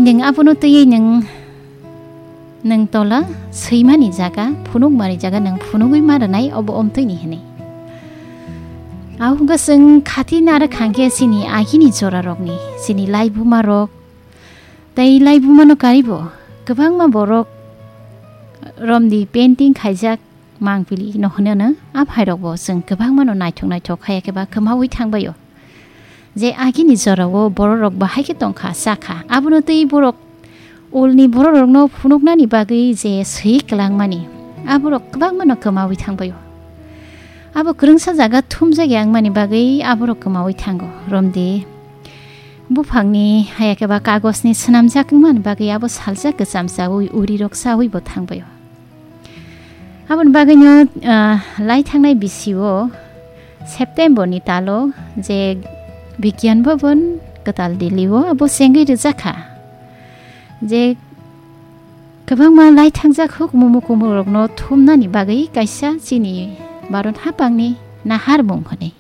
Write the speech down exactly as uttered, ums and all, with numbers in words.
Nwng abono twiwi nwng, nwng tola swimani jaga, phunukmani jaga nwng phunugwi ma rwnai, obo omtwini hwnwi. Ahukhe chwng khati narwk hwnkhe chini agini jorarokni, chini laibumarok, tei laibumano karibo kwbangma borok romdi painting khaijak mangpili no hwnwi ano, a phairokbo chwng kwbangmano naithok naithok haiya khe ba kwmaui thangbaio. Je agini jorao bororok bahai khe tongkha, sakha, abono tei borok ulni bororokno phunuknani bagwi je swi kwlangmani, aborok kwbangmano kwmaui thangbaio. Abo kwrwngsa jaga thumjak ya wngmani bagwi aborok kwmaui thango. Romdi buphangni haiya khe ba kagosni swnamjak wngmani bagwi abo saljak kwcham chaui urirok chaui bo thangbaio. Aboni bagwino, ah, lai thangnai bisio September ni talo je Bigyan Bhavan Kwtal Delhi o abo chengwi rwjakha je kwbangma lai thangjak huk mumu kumurokno thumnani bagwi kaisa chini Bharat hapangni naharmung hwnwi.